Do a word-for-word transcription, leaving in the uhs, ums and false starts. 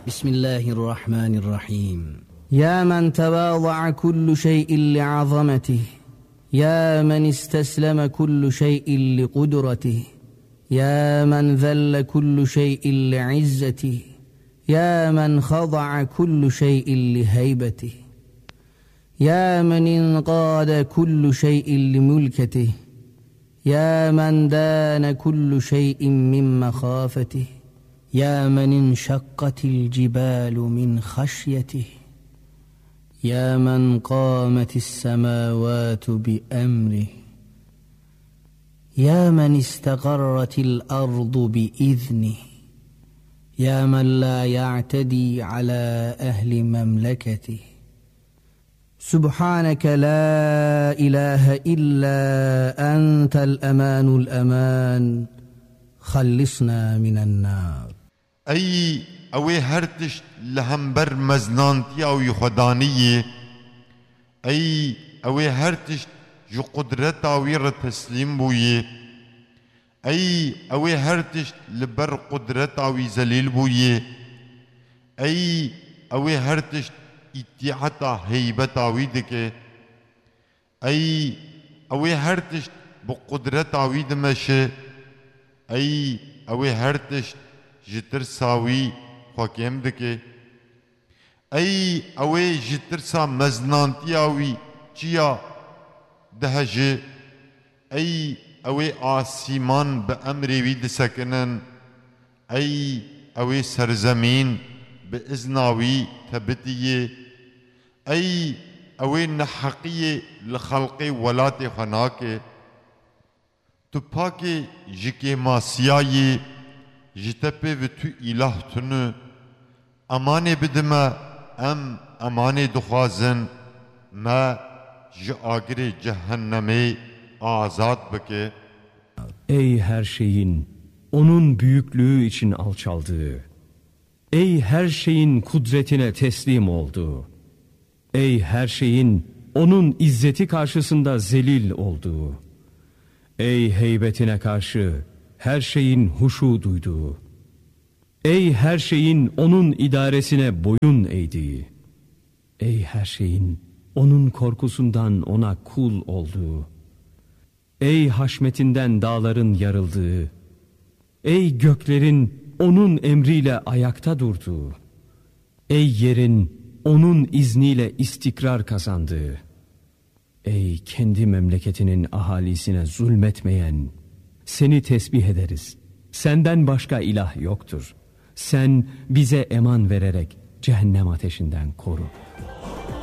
بسم الله الرحمن الرحيم. يا من تواضع كل شيء لعظمته، يا من استسلم كل شيء لقدرته، يا من ذل كل شيء لعزته، يا من خضع كل شيء لهيبته، يا من انقاد كل شيء لملكته، يا من دان كل شيء من مخافته، يا من انشقت الجبال من خشيته، يا من قامت السماوات بأمره، يا من استقرت الأرض بإذنه، يا من لا يعتدي على أهل مملكته. سبحانك لا إله إلا أنت الأمان الأمان، خلصنا من النار. Ey ew ê her tişt li hember meznantiya wî xwe daniyê. Ey ew ê her tişt ji qudreta wî re teslîm bûyê. Ey ew ê her tişt li ber qudreta wî zelîl bûyê. Ey ew ê her tişt îtîata heybeta wî dike. Ey ew ê her tişt bi qudreta wî dimeşe. Ey ew ê her tişt ji tirsa wî xwe kêm dike. Ey ew ê ji tirsa meznantiya wî çiya diheje. Ey ew ê asîman bi emrê wî disekinin. Ey ew ê serzemîn bi izna wî tebitiyê. Ey ew ê neheqiyê li xelqê welatê xwe nake. Tu pakê ji kêmasiyayê, ji te pê vi tu îlah tune. Emanê bidime, em emanê dixwazin, me ji agirê cehennemê azad bike. Ey her şeyin onun büyüklüğü için alçaldığı, ey her şeyin kudretine teslim oldu. Ey her şeyin onun izzeti karşısında zelil olduğu. Ey heybetine karşı her şeyin huşu duyduğu. Ey her şeyin onun idaresine boyun eğdiği. Ey her şeyin onun korkusundan ona kul olduğu. Ey haşmetinden dağların yarıldığı, ey göklerin onun emriyle ayakta durduğu, ey yerin onun izniyle istikrar kazandığı, ey kendi memleketinin ahalisine zulmetmeyen, seni tesbih ederiz. Senden başka ilah yoktur. Sen bize eman vererek cehennem ateşinden koru.